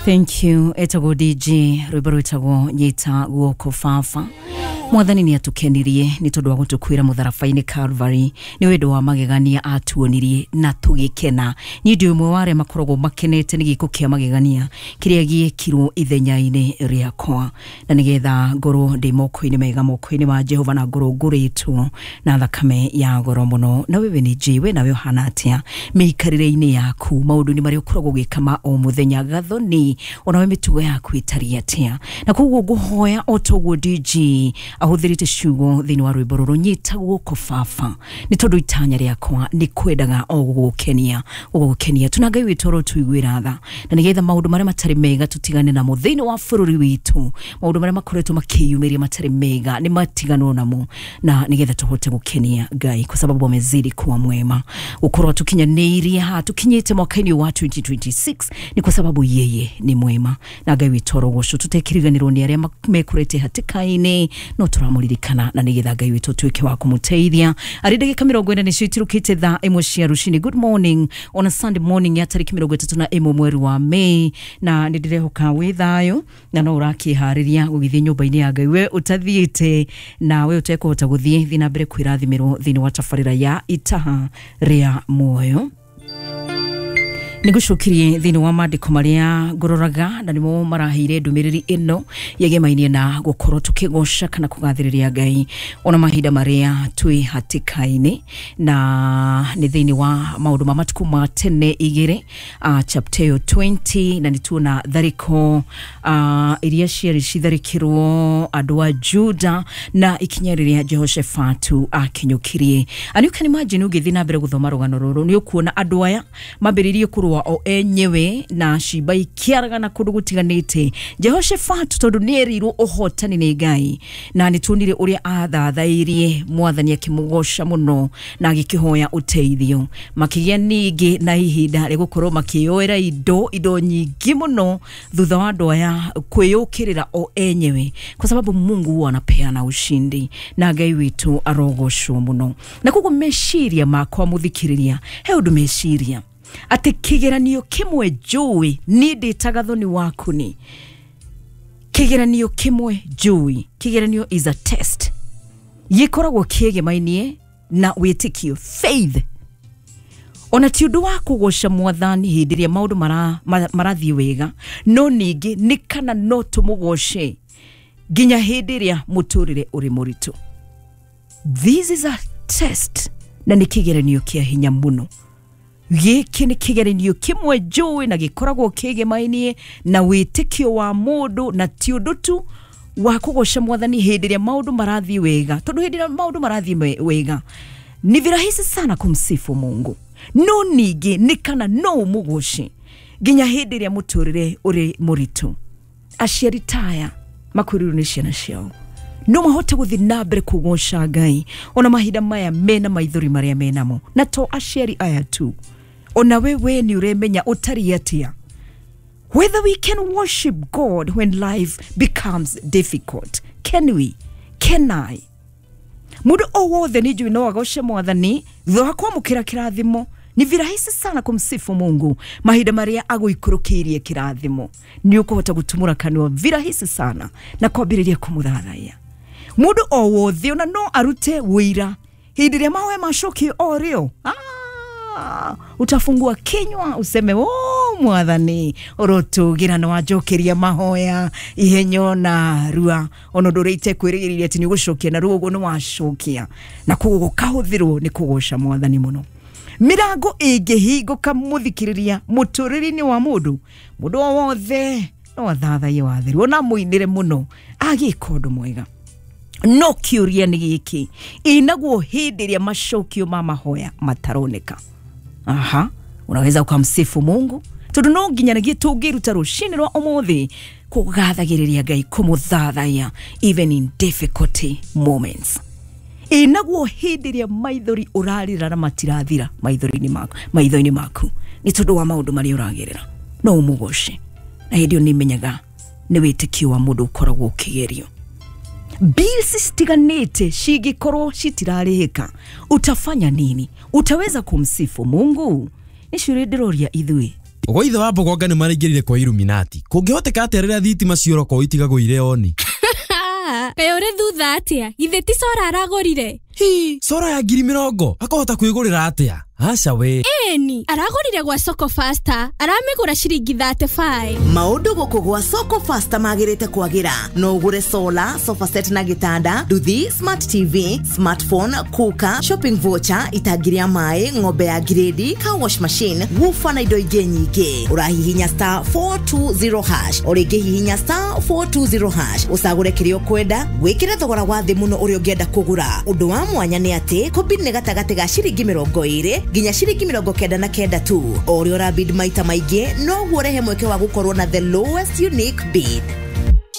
Thank you. Etagwo DJ rwimbo rwitagwo Nyita Guoko Baba. Mwathani nĩ atukenirie nĩ tondũ wa gũtũkuĩra mũtharaba-inĩ Calvary. Nĩ wendo wa magegania atuonirie na tũgĩkena. Niĩ ndĩ ũmwe wa arĩa makoragwo makenete nĩ gĩko kĩa magegania kĩrĩa gĩekirwo ithenya-inĩ rĩakwa, na nĩgetha ngorwo ndĩ moko-inĩ mega, moko-inĩ ma Jehova, na ngorwo ngũrĩtwo na thakame ya goro mũno. Na wewe nĩ njĩ we nawe ũhana atĩa mĩikarĩre-inĩ yaku, maũndũ-inĩ marĩa ũkoragwo ũgĩka ma o mũthenya, gathoni onawe mĩtugo yaku ĩtariĩ atĩa? Na koguo ngũhoya o toguo DJ ahũthĩrĩte ciugo thĩinĩ wa rwĩmbo rũrũ, Nyita Guoko Baba, nĩ tondũ itanya rĩakwa nĩ kwendaga o gũgũkenia, gũgũkenia tuna. Ngai witũ ũrotuiguĩra tha, na nĩgetha maũndũ marĩa matarĩ mega tũtigane namo thĩinĩ wa bũrũri witũ. Maũndũ marĩa makoretwo makĩyumĩria matarĩ mega nĩ matiganwo namo, na nĩgetha tũhote gũkenia Ngai, kwa sababu amezidi kuwa mwema. Gũkorwo tũkinyanĩirie haha tũkinyĩte mwaka-inĩ wa 2026 ni kwa sababu yeye ni mwema, na Ngai witũ arogocwo. Tũtekĩriganĩrwo nĩ arĩa mekorete hatĩka-inĩ, no tũramũririkana, na nĩgetha Ngai witũ tuĩke wa kũmũteithia. Arĩ ndagĩka 40 nĩcio itirũkĩte thaa 1 cia rũcinĩ. Good morning on a Sunday morning ya tarĩki 31 mweri wa Mei, na nĩ ndĩrehoka wĩ thayũ na no ũrakĩharĩria gũgĩthiĩ nyũmba-inĩ ya Ngai. We ũtathiĩte na we ũtekũhota gũthiĩ, thiĩ na mbere kwĩrathimĩrwo thĩinĩ wa tabarĩra ya Itaha rĩa Muoyo. Nĩ ngũcokirie thĩinĩ wa mandĩko marĩa ngũroraga, na nĩmo maraheire ndũmĩrĩri ĩno yegemainie na gũkorwo tũkĩgoca kana kũgathĩrĩria Ngai ona mahinda marĩa twĩ hatĩka-inĩ, na nĩ thĩinĩ wa Maũndũ ma Matukũ ma Tene 2, chapter ĩyo 20, na nĩ tuona tharĩko iria ciarĩ citharĩkĩrwo andũ a Juda na ikinya rĩrĩa Jehoshafatu akinyũkirie. And you can imagine, ũngĩthiĩ na mbere gũthoma rũgano rũrũ, nĩ ũkuona andũ aya mambĩrĩirie kũrũa o enyewe na ciimba ikĩaragana kũndũ gũtiganĩte. Jehoshafatu, tondũ nĩ erirwo ũhotani nĩ Ngai, na nĩ tuonire ũrĩa athathairie Mwathani akĩmũgoca mũno na agĩkĩhoya ũteithio, makĩgĩa ningĩ na ihinda rĩa gũkorwo makĩyoera indo nyingĩ mũno thutha wa andũ aya kwĩyũkĩrĩra o enyewe, kwa sababu Mungu huwa anapeana ushindi, na Ngai witũ arogocwo mũno. Na koguo meciria makwa, mũthikĩrĩria, he ũndũ meciria atĩ kĩgeranio kĩmwe njũĩ niĩ ndĩtaga thoni waku, nĩ kĩgeranio kĩmwe njũĩ, kĩgeranio is a test, gĩkoragwo kĩegemainie na wĩtĩkio, faith. Ona ti ũndũ wa kũgoca Mwathani hĩndĩ ĩrĩa maũndũ marathiĩ wega, no ningĩ nĩ kana no tũmũgoce nginya hĩndĩ ĩrĩa mũtũrĩre ũrĩ mũritũ. This is a test, na nĩ kĩgeranio kĩa hinya mũno. Gĩkĩ nĩ kĩgeranio kĩmwe njũĩ na gĩkoragwo kĩgemainie na wĩtĩkio wa mũndũ, na ti ũndũ tu wa kũgoca Mwathani hĩndĩ ĩrĩa maũndũ marathiĩ wega, tondũ hĩndĩ ĩrĩa maũndũ marathiĩ wega ni virahisi sana kumsifu Mungu, no ningĩ nĩ kana no ũmũgoce nginya hĩndĩ ĩrĩa mũtũrĩre ũrĩ mũritũ. Aciari taya makuĩrĩirwo nĩ ciana ciao no mahote gũthiĩ na mbere kũgoca Ngai ona mahinda maya mena maithori marĩa menamo. Na to aciari aya tu, ona wewe nĩ ũremenya ũtariĩ atĩa, whether we can worship God when life becomes difficult. Can we? Can I? Mũndũ o wothe nĩ njũĩ no agoce Mwathani thutha wa kwamũkĩra kĩrathimo. Ni virahisi sana kumsifu Mungu mahinda marĩa agũikũrũkĩirie kĩrathimo. Nĩ ũkũhota gũtumũra kanua virahisi sana na kwambĩrĩria kũmũthathaiya. Mũndũ o wothe ona no arute wĩira hĩndĩ ĩrĩa mahoya macokio o rĩo. Ah, utafungua kinywa useme, "Oh, Mwathani ũrotũgĩra, nĩ wanjokeria mahoya ihenyo na rua, ona ũndũ ũrĩa itekwĩrĩgĩrĩire atĩ nĩ ũgũcokia na rua ũguo nĩ wacokia." Na koguo gũkahũthĩrwo nĩ kũgoca Mwathani mũno. Mirango ĩngĩhingũka, mũthikĩrĩria, mũtũrĩre-inĩ wa mũndũ, mũndũ o wothe no athathaiye watheru, ona mũinĩre mũno agĩka ũndũ mwega. No kĩũria nĩ gĩkĩ, ĩnaguo hĩndĩ ĩrĩa macokio ma mahoya mataroneka, aha, unaweza ukamsifu Mungu? Tondũ no nginya nĩgĩ tũngĩruta rũcinĩ rwa ũmũthĩ kũgathagĩrĩria Ngai, kũmũthathaiya even in difficulty moments. Ĩnaguo hĩndĩ ĩrĩa maithori ũrarĩra na matirathira maithori-inĩ maku, maitho-inĩ maku, nĩ tondũ wa maũndũ marĩa ũragerera, no ũmũgoce? Na hĩndĩ ĩyo nĩ nĩ wĩtĩkio wa mũndũ ũkoragwo ũkĩgerio. Bills citiganĩte cingĩkorwo citirarĩhĩka, utafanya nini? Utaweza kumsifu Mungu? Nĩ ciũria ndĩroria ithuĩ. Gwa ithe wa mbogonga nĩ maraingĩrire kwa Illuminati. Kũngĩhoteka atĩa rĩrĩa thitima ciora kwao itigagwo irĩ oni? Kaĩ ũrĩ thutha atĩa? Githĩ ti cora aragũrire? Hi, cora ya 20,000 akahota kwĩgũrĩra atĩa? Aca we. Ĩni, aragũrire gwa Soko Faster, aramĩgũra ciringi 35. Maũndũ gũkũ gwa Soko Faster magĩrĩte kwagĩra. No ũgũre solar, sofa set na gĩtanda, nduthi, smart TV, smartphone, cooker, shopping voucher, itangi rĩa maĩ, ng'ombe ya grade, car wash machine, woofer na indo ingĩ nyingĩ. Ũrahihinya star 420 hash, o rĩngĩ hihinya star 420 hash, ũcagũre kĩrĩa ũkwenda, wĩkĩre thogora wa thĩ mũno ũrĩa ũngĩenda kũgũra. Ũndũ wa mwanya nĩ atĩ kũbid nĩ gatagatĩ ga ciringi 20 nginya ciringi 99 tu. O ũrĩa ũrabid maita maingĩ noguo ũrehe mweke wa gũkorwo na the lowest unique bid.